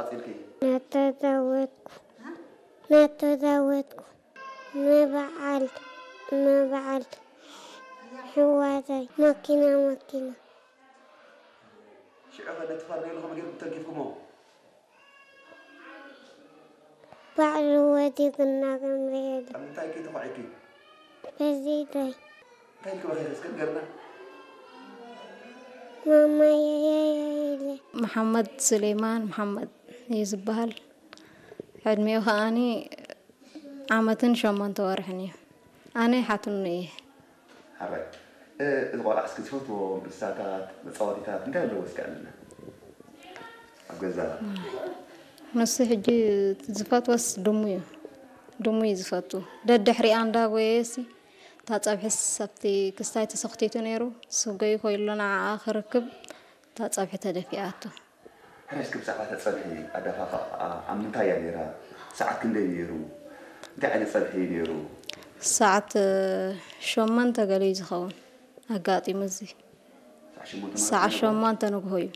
ቀጺልኪ? ናተዛወድኩ፣ ናተዛወድኩ፣ ንበዓል፣ ንበዓል ሕዋተይ፣ መኪና፣ መኪና። ሽዑ ኸ ነቲ ፋርኔሎ ከመይ ጌርኩም ተንኪፍኩሞ? ባዕሉ ወዲቑና ክንሪኤሉ። ኣብ ምንታይ ከይተኾዒኪ? በዚ ኢደይ። እንታይ ኢልኪ በኺኺ እስከ ንገርና? ማማየየየ ኢለ። መሓመድ ሱሌማን መሓመድ እዩ ዝበሃል። ዕድሚኡ ከኣኒ ዓመትን ሸሞንተ ወርሕን እዩ። ኣነ ሓትኑ እየ። ሓራይ። እ፣ እዚ ቆልዓ እስኪ ዝፈትዎም እንስሳታት፣ መጻወቲታት እንታይ ኣለዎ እስኪ ኣልዕልና? ኣብ ገዛ። ንሱ ሕጂ ዝፈትወስ ድሙ እዩ። ድሙ እዩ ዝፈቱ። ደድሕሪኣ እንዳጎየየሲ፣ እታ ጸብሒስ ኣብቲ ክስታይ ተሰኽቲቱ ነይሩ። ስገዩ ኮይሎ ንዓኣ ክርክብ፣ እታ ጸብሒ ተደፊኣቶ። ሕራይ እስኪ ብዛዕባ እታ ጸብሒ ኣደፋፍኣኣ ኣብ ምንታይ እያ ነይራ? ሰዓት ክንደይ ነይሩ? እንታይ ዓይነት ጸብሒ እዩ ነይሩ? ሰዓት፣ እ፣ ሸሞንተ ገለ እዩ ዝኸውን ኣጋጢሙ እዚ። ሰዓት ሸሞንተ ማለት ሰዓት ነይሩ? ሸሞንተ ንግሆ እዩ።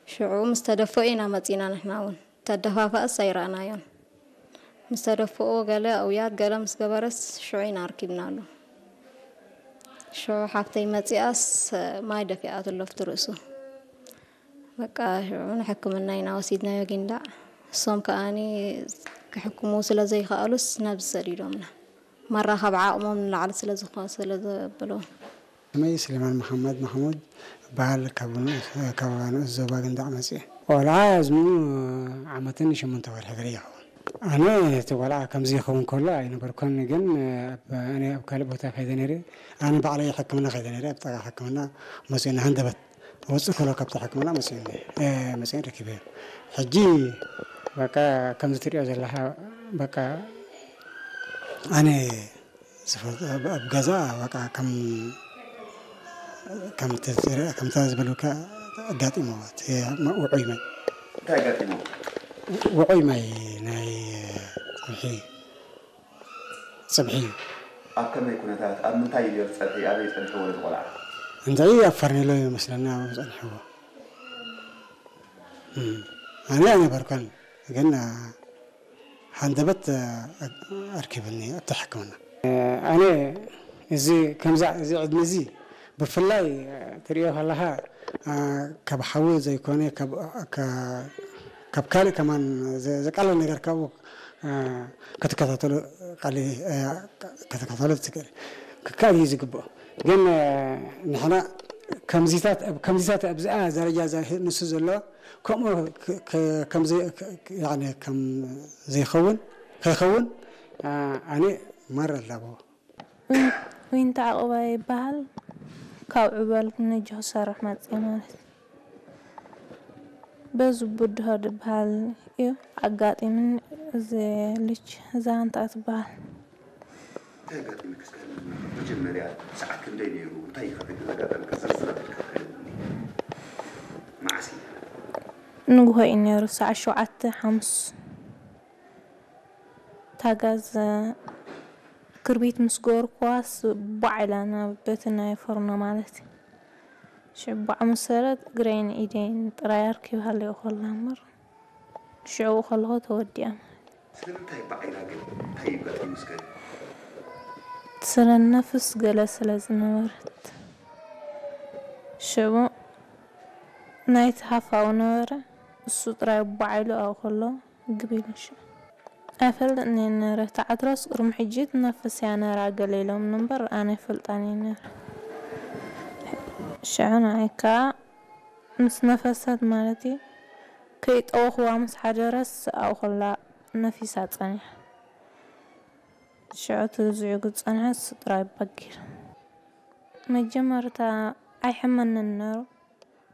ሽዑ ምስ ተደፍኦ ኢና መጺና ንሕና እውን። ተደፋፍኣስ ኣይረኣናዮን። ምስ ተደፍኦ ገለ ኣውያት ገለ ምስ ገበረስ ሽዑ ኢና ኣርኪብናሉ። ሽዑ ሓፍተይ መጺኣስ ማይ ደፊኣትሉ ኣብቲ ርእሱ። በቃ ሽዑ ንሕክምና ኢና ወሲድናዮ ጊንዳዕ። እሶም ከኣኒ ክሕክሙ ስለ ዘይከኣሉስ ናብዚ ሰዲዶምና። መራኸቢ ዓቕሞም ንላዕሊ ስለ ዝኾ-፣ ስለ ዘብሎ። ስመይ ስሌማን መሓመድ ማሕሙድ እበሃል። ካብ ንኡስ፣ ካብ ንኡስ ዞባ ጊንዳዕ መጽየ። ቆልዓ ዕድሚኡ ዓመትን ሸሞንተ ወርሒ ገለ ይኸውን። ኣነ እቲ ቆልዓ ከምዚ ይኸውን ከሎ ኣይነበርኩን፣ ግን ኣብ፣ ኣነ ኣብ ካልእ ቦታ ከይደ ነይረ። ኣነ ባዕለይ ሕክምና ከይደ ነይረ፣ ኣብ ጥቓ ሕክምና መጺኡኒ ሃንደበት። ወጽእ ከሎ ካብቲ ሕክምና መጺኡኒ፣ እ፣ መጺኡኒ ረኪበዮ። ሕጂ በቃ ከምዚ ትሪኦ ዘለኻ በቃ ኣነ ዝፈልጦ ኣብ፣ ኣብ ገዛ በቃ ከም፣ ከም ትዝረ-፣ ከምታ ዝበሉካ ኣጋጢሞ እቲ ውዑይ ማይ። እንታይ ኣጋጢሞ? ውዑይ ማይ ናይ ጽብሒ፣ ጽብሒ እዩ። ኣብ ከመይ ኩነታት፣ ኣብ ምንታይ እዩ ነይሩ ጸብሒ? ኣበይ ጸኒሕዎ ነቲ ቆልዓ? እንታይ ኣብ ፈርኔሎ እዩ መስለኒ ኣብኡ ጸኒሕዎ። እም፣ ኣነ ኣይነበርኩን፣ ግን፣ አ፣ ሃንደበት፣ አ፣ ኣርኪብኒ ኣብቲ ሕክምና። ኣነ እዚ ከምዛ፣ እዚ ዕድመ እዚ ብፍላይ፣ አ፣ ትሪኦ ከለኻ፣ አ፣ ካብ ሓዊ ዘይኮነ፣ ካብ፣ ካ-፣ ካብ ካልእ ከማን ዘ-፣ ዘቃልል ነገር ካብኡ፣ አ፣ ክትከታተሎ ቃል-፣ አ፣ ክትከታተሎ ትክእል፣ ክካል እዩ ዝግብኦ። ግን፣ አ፣ ንሕና ከምዚታት፣ ኣብ ከምዚታት ኣብዚኣ ደረጃ እዛ ንሱ ዘሎ ከምኡ ክ-፣ ክ-፣ ከም ዘይ-፣ ክ-፣ ክ-፣ ያዕኒ ከም ዘይኸውን፣ ከይኸውን፣ ኣ-፣ ኣነ ማራ ኣለዎ። ዊን-፣ ዊንታ ዕቑባይ ይበሃል። ካብ ዕበል ንጆ ክሰርሕ መጽየ ማለት። በዙ ብድሆ ዝበሃል እዩ ኣጋጢምኒ። እዚ ልጅ እዛ ኣንታ ትበሃል። እንታይ ኣጋጢሙኪ እስከ ንገሪኒ? መጀመርያ ሰዓት ክንደይ ነይሩ? እንታይ እዩ ከ ዘጋጠመኪ? ዝርዝር ኣቢልካ ክትነግርኒ። መዓስ እዩ? ንግሆ እዩ ነይሩ፣ ሰዓት ሸውዓተ ሓሙስ። እታ ጋዝ ክርቢት ምስ ገበርኩዋስ ቧዕ ኢላ ናብ በቲ ናይ ፎርኖ ማለት እዩ። ሽዕ ቧዕ ምስ በለት እግረይን ኢደይን ጥራይ ኣርኪባ ሃለኹ ከላ እምበር። ሽዑ ከለኹ ተወዲኣ ማለት እዩ። ስለምንታይ ባዕ ኢላ ግን? እንታይ እዩ ኣጋጢሙ እስከ? ስለ ነፍስ ገለ ስለ ዝነበረት። ሽዑ ናይቲ ሃፋው ነበረ፣ እሱ ጥራይ ባዕ ኢሉ ኣብኡ ከሎ ግብ ኢሉ ሽዑ። ኣይፈልጥን እየ ነረ፣ እታ ዕትሮስ ቅድሚ ሕጂ ትነፍስ እያ ነራ ገለ ኢሎምኒ እምበር ኣነ ኣይፈልጣን እየ ነረ። ሽዑ ንዓይ ከኣ ምስ ነፈሰት ማለት እዩ፣ ከይጠወኽዋ ምስ ሓደረስ ኣብኡ ከላ ነፊሳ ጸኒሓ። ሽዑ እቲ ዝዕጉ ዝጸንሐ እሱ ጥራይ ባጊር። መጀመርታ ኣይሕመንን ነሩ።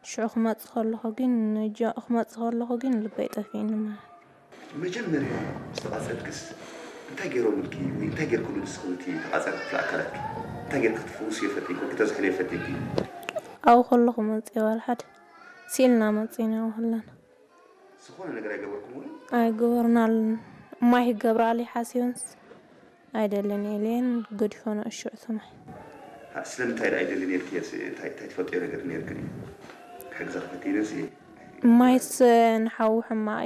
ሽዑ ክመጽእ ከለኹ ግን፣ ንጆ-፣ ክመጽእ ከለኹ ግን ልበይ ጠፊእኒ ማለት። መጀመርያ ምስ ተቓጸልክስ እንታይ ገይሮምልኪ ወይ እንታይ ገይርክሉ ንስኺ ነቲ ተቓጻሊ ክፍሊ ኣካላትኪ? እንታይ ገይርኪ ክትፍውስዮ ፈቲንኪ ወይ ክተዝሕልዮ ፈቲንኪ? ኣብኡ ከለኹ መጽየ ዋላ ሓደ ስኢልና መጺና ከለና። ዝኾነ ነገር ኣይገበርኩምሉን? ኣይገበርናሉን። እማይ ክገብራሉ ሓሲበንስ ኣይደልን ኢለን ገዲፈንኦ ሽዑ እቲ ማይ። ሃ፣ ስለምንታይ ደኣ ኣይደልን ኢልክየስ፣ እንታይ፣ እንታይ ትፈልጥዮ ነገር ነይርክን እዩ? ክሕግዘኪ ፈቲነስ እየ። ማይስ ንሓዊ ሕማቕ እዩ፣